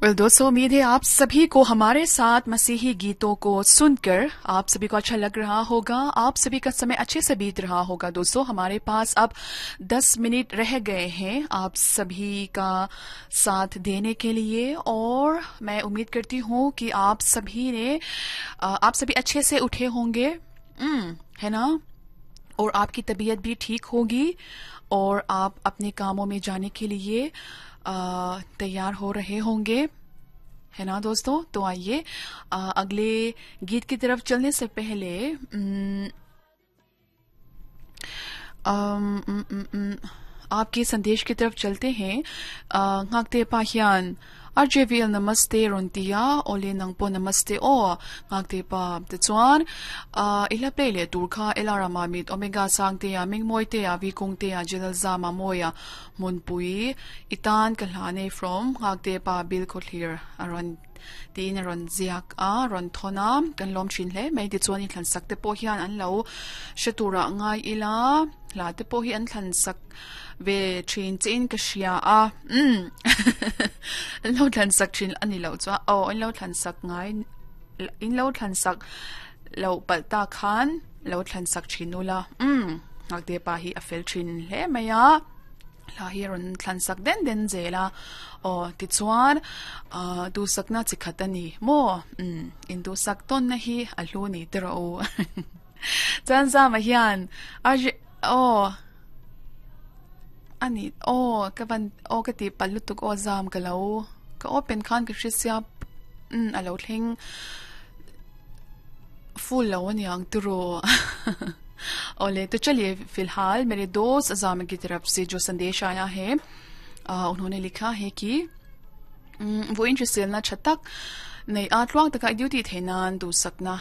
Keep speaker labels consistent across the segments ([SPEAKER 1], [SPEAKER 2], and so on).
[SPEAKER 1] Well दोस्तों, उम्मीद है आप सभी को हमारे साथ मसीही गीतों को सुनकर आप सभी को अच्छा लग रहा होगा, आप सभी का समय अच्छे से बीत रहा होगा। दोस्तों, हमारे पास अब 10 मिनट रह गए हैं आप सभी का साथ देने के लिए और मैं उम्मीद करती हूँ कि आप सभी ने आप सभी अच्छे से उठे होंगे, है ना, और आपकी तबीयत भी ठीक होगी और आप अपने कामों में जाने के लिए तैयार हो रहे होंगे, है ना दोस्तों। तो आइए अगले गीत की तरफ चलने से पहले आपके संदेश की तरफ चलते हैं। ngakte pa hian RJVL namaste rontia ole nangpo namaste o ngakte pa te chuan ila play le tur kha elara mamit omega sangte a mingmoi te a vikung te a jelal zama moya munpui itan ka hlane from ngakte pa bil khothlir aron tin ron ziak a ron thona kan lom thin hle mai ti chuan in thlan sak te pawh hian an lo hretura ngai ila hla te pawh hi an thlan sak ve thin chein ka hria a an lo thlan sak thin ani lo chuan aw an lo thlan sak ngai in lo thlan sak lo palh ta khan lo thlan sak thin ula ngakte pa hi a fel thin hle mai a hla hi rawn thlan sak den den zel a aw tichuan duhsakna chi khat a ni maw in duhsak tawnna hi a hlu ni te rawh u chuan zama hian aw ani aw ka van aw ka tih palh lutuk aw zam ka lo ka open khan ka hre sia a lo thleng full lo aniang tiraw ओले तो चलिए फिलहाल मेरे दोस्त अजाम की तरफ से जो संदेश आया है उन्होंने लिखा है कि वो interest na chatak nei a tluang taka i duty theinan du sakna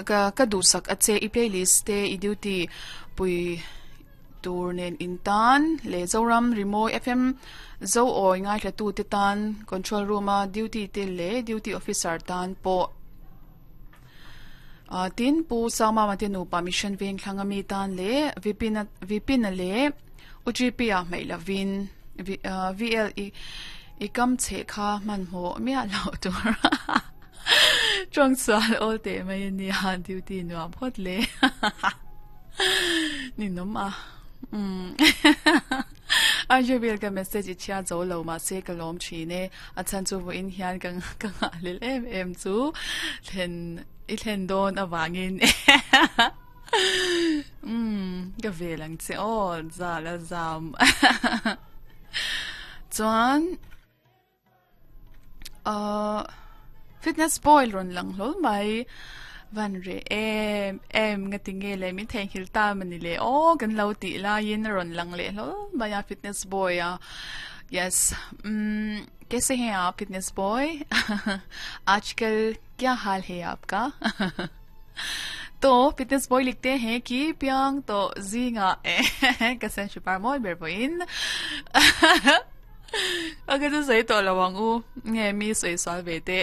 [SPEAKER 1] ka ka du sak ache i playlist te i duty pui tur nen in tan le Zoram Rimo FM zo oi ngai thla tu te tan control room a duty te le duty officer tan po tin pu sama ma te nu permission veng thlanga mi tan le vipin vipin le UGP a mai lavin VL i ikam che kha man mo mia lo tur trong sual ol te mai ni ha duty nuam phot le ni nom a RJBL ka message i chhia zo lo ma se ka lawm thin e a chan chu vo in hian ka ka nga lel em em chu thlen i thlen dawn awangin ka vel ang che aw za la zam chuan fitness boy rawn lang hlawl mai van re em em nga ti nge le min theihnghilh ta mani le aw kan lo tih laiin a rawn lang leh hlawl mai a fitness boy a yes kaise hain aap fitness boy आजकल क्या हाल है आपका तो fitness boy लिखते हैं कि प्यांग तो zinga kasen shupar moi ber boin अगर tu sei to lawang u nge mi soi swal ve te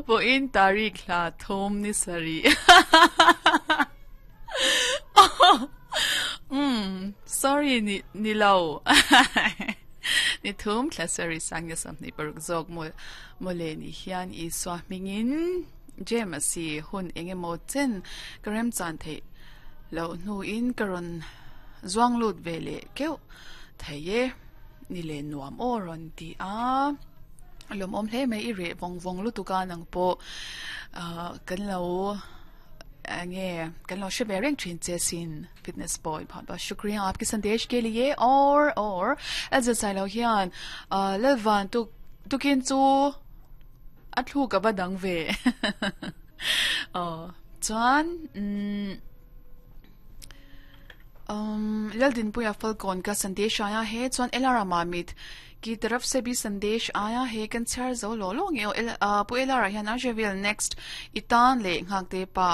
[SPEAKER 1] boin tarik la thom ni sari sorry ni ni lo ni thum thla sari sang ni sam ni paruk zok mo mole ni hian i swa mingin James hun engemaw chen ka rem chan thei lo hnu in ka rawn zuang lut ve leh keuh thei e ni le nuam aw rawn ti a lawm awm hle mai i reh vawng vawng lutuk a nang pawh kan lo nge kan lo hre ve reng thin che sin fitness boy bahut bahut shukriya aapke sandesh ke liye aur aur Elza Sailo hian Lalvan tuk tukin chu a thluk a va dang ve aw chuan umm Laldinpuia Falkawn ka sandesh aia he chuan Elara Mamit ki taraf se bhi sandesh aia he kan chhiar zo lo lo nge aw Pu Elara hian a hre next i tan leh nghakte pa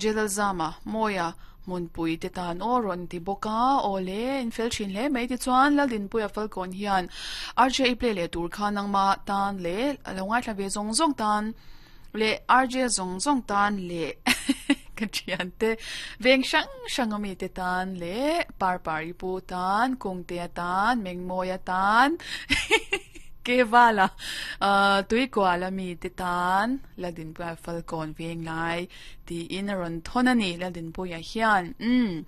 [SPEAKER 1] Jelal Zama Mawia hmunpui te tan aw rawn ti bawk a aw le in fel thin hle mai tichuan Laldinpuia Falkawn hian RJ i play leh tur kha nangma tan leh a lo ngaithla ve zawng zawng tan leh RJ zawng zawng tan leh ka thian te veng hrang hrang ami te tan leh par par i pu tan kungtea tan mengmawia tan. Kevala Tuikuala mite tan Laldinpuia Falkawn veng lai tiin a rawn thawn a ni Laldinpuia hian umm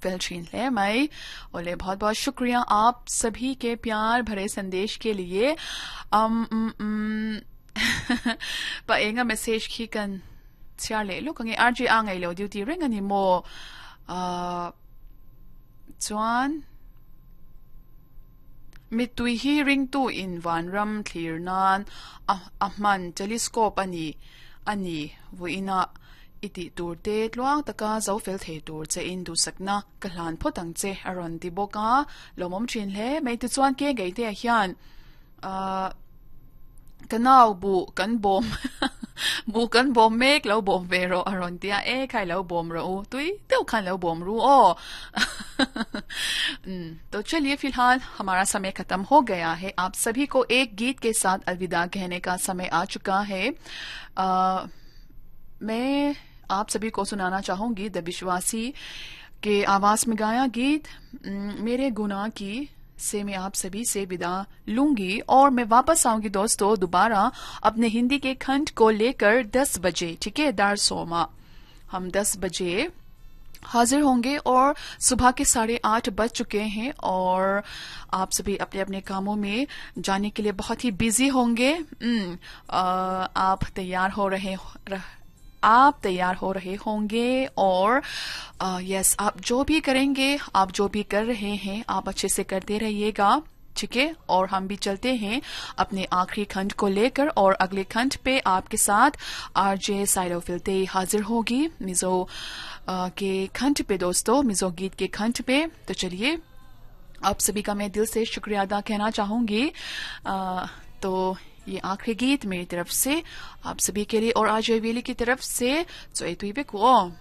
[SPEAKER 1] fel thin hle mai awle bahut bahut shukriya aap sabhi ke pyar bhare sandesh ke liye um um um pa enga message khi kan chhiar leh lawk ange RJ a ngailo duty reng ani maw ah chuan Mittui hi ringtu in vanram thlir nan a a hman telescope a ni a ni. Vawiinah i tih tur te tluang taka zo fel thei tur che in duhsakna ka hlan phawt ang che a rawn ti bawk a, lawmawm thin hle mai. Tichuan ke ngei te ah hian ahh Ka nau buh kan bawm buh kan bawm mek lo bawm ve rawh a rawn ti a, e khai lo bawm rawh u, tui deuh khan lo bawm ru aw. To chaliye filhal hamara samay khatam ho gaya hai, aap sabhi ko ek geet ke saath alvida kehne ka samay aa chuka hai. Main aap sabhi ko sunana chahungi the Vishwasi ke awaaz mein gaya geet mere gunah ki से मैं आप सभी से विदा लूंगी और मैं वापस आऊंगी दोस्तों दोबारा अपने हिंदी के खंड को लेकर 10 बजे ठीक है दार सोमा हम 10 बजे हाजिर होंगे और सुबह के 8:30 बज चुके हैं और आप सभी अपने अपने कामों में जाने के लिए बहुत ही बिजी होंगे आप तैयार हो रहे आप तैयार हो रहे होंगे और यस आप जो भी करेंगे आप जो भी कर रहे हैं आप अच्छे से करते रहिएगा ठीक है और हम भी चलते हैं अपने आखिरी खंड को लेकर और अगले खंड पे आपके साथ आरजे साइलो फिलते हाजिर होगी मिजो के खंड पे दोस्तों मिजो गीत के खंड पे तो चलिए आप सभी का मैं दिल से शुक्रिया अदा कहना चाहूंगी तो ये आखिरी गीत मेरी तरफ से आप सभी के लिए और आज वेली की तरफ से चोई तुई को।